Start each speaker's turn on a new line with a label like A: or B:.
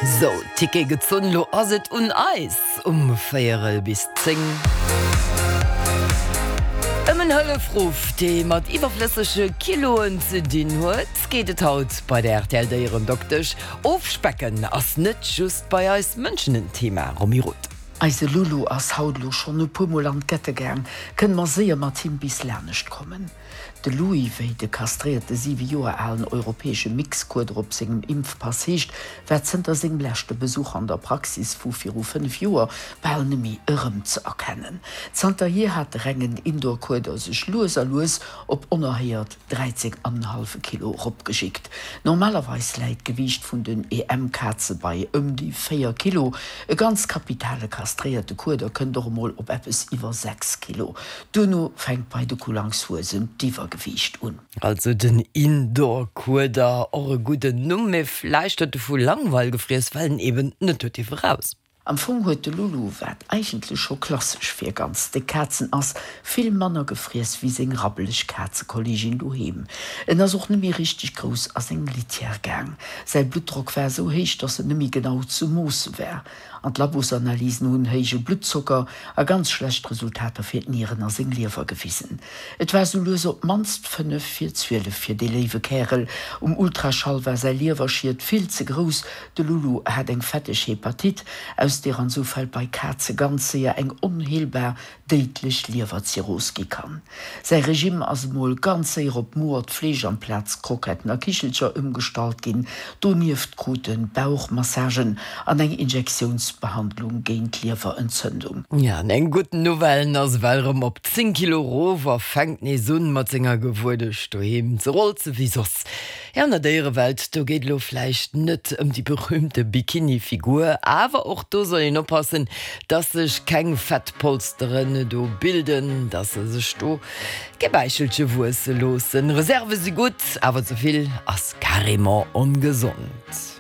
A: Sou, Ticket gezunn, lo ass et un eis um véierel bis 10. Ëm en Hëllefruff, dee mat iwwerflëssege Kiloen ze dinn huet, geet et haut bei der rtl Déierendoktesch. Ofspecken ass net just bei eis Mënschen en Thema, Romy Roth.
B: Eise Lulu ass haut elo schonn e puer mol an d'Gette gaang, kënne mer séier mat him bis lanescht kommen. De Louis, wéi de kastréierte 7 Joer alen europäesche Mixkueder op sengem Impfpass heescht, war zënter sengem leschte Besuch an der Praxis vu viru 5 Joer bal nemmi erëmzeerkennen. Zanterhier hat de rengen Indoor-Kueder sech lues a lues op onerhéiert 13 an en hallwe Kilo eropgeschickt. Normalerweis läit d'Gewiicht vun den EM-Kaze bei ëm déi 4 Kilo. E ganz kapitale kastréierte Kueder kënnt och emol op eppes iwwer 6 Kilo. Duerno fänkt bei de Kullangshuesen d'Iwwergewiicht un.
A: Also den Indoor-Kueder, och e gudden Numm, mee vläicht huet e vu Langweil gefriess, well en eben net huet dierfe raus.
B: Am Fong huet de Lulu, wat eigentlech scho klassesch fir ganz déck Kazen ass, vill manner gefriess wéi seng rabbeleg Kazekolleegin doheem. En ass och nemmi richteg grouss a seng Litière gaang. Säi Bluttdrock war esou héich, dass en nemmi genau ze moosse war. An d'Labosanalysen hunn héije Bluttzocker a ganz schlecht Resultater fir d'Nieren a seng Liewer gewisen. Et war sou lues op d'mannst 5 vir 12 fir dee léiwe Kärel. Um Ultraschall war säi Liewerschiet vill ze grouss. De Lulu hat eng fetteg Hepatite, aus deer an sou Fäll bei Kaze ganz séier eng onheelbar déidlech Liewerzirrhos gi kann. Säi Regime ass emol ganz séier op moert Fleesch amplaz Kroketten a Kichelcher ëmgestallt ginn. Donieft krut en Bauchmassagen an eng Injektiounsbehandlung géint d'Liewerentzündung.
A: Ja, an eng gutt Nouvelle, en ass ewell erëm op 10 Kilo erof a fänkt nees un mat senger Gewuedesch doheem ze rolze wéi soss. Jo, an der Déierewelt, do geet elo vläicht net ëm déi berühmte Bikini-Figur, awer och do soll een oppassen, dass sech keng Fettpolsteren do bilden, dass se sech do kee Bäichelche wuesse loossen. Reserve si gutt, awer ze vill ass carrément ongesond.